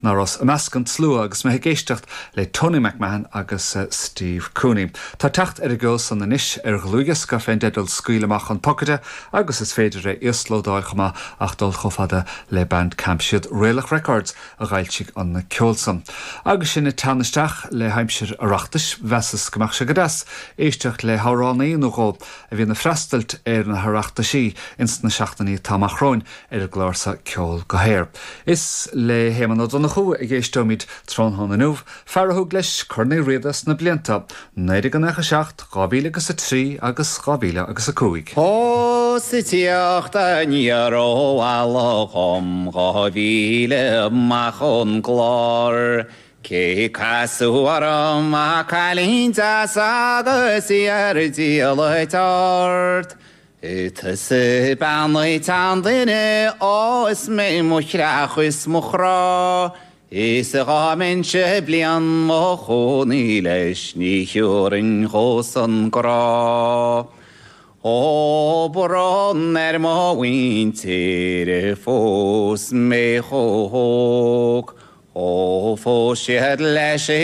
Ná rabhas i measc an tslua agus mé ag éisteacht le Tony McMahon agus Steve Cooney. Tá teacht ar an gceol san anois ar dhlúthdhiosca fén dteideal Scaoil Amach an Pocaide agus is féidir é íoslódáil chomh maith ach dul chomh fada le Bandcamp. Siad Raelach Records a dh'fhoilsigh an ceol san. Agus sinn ag teannadh isteach le haimsir Oireachtais, mheasas go mbeadh sé go deas éisteacht le hamhránaí nó dhó a bhíonn ag freastailt ar na hOireachtaisí ins na seachtainí atá amach romhainn. ar an gclár seo Ceol go hAer. Is le hÉamonn Ó Donnchú a dh'éisteoimid tráthnóna inniu, fear a thug leis Corn Uí Riada sna blianta 1997, 2000 agus 3 agus 2000 agus 5. Ó 's ag tíocht aniar ó Mhala dhom 2000 amach ón gClár, Cé casadh orm ach cailín deas agus í ar diallait ard. Tusa bean an tseanduine, ó is mé mo chreach is mo chrá, Is dhá mbeinnse bliain mo chónaí leis ní thiúrfainn dhósan grá. Ó brón ar mo mhuintir a phós mé chomh hóg, Ó phós siad leis.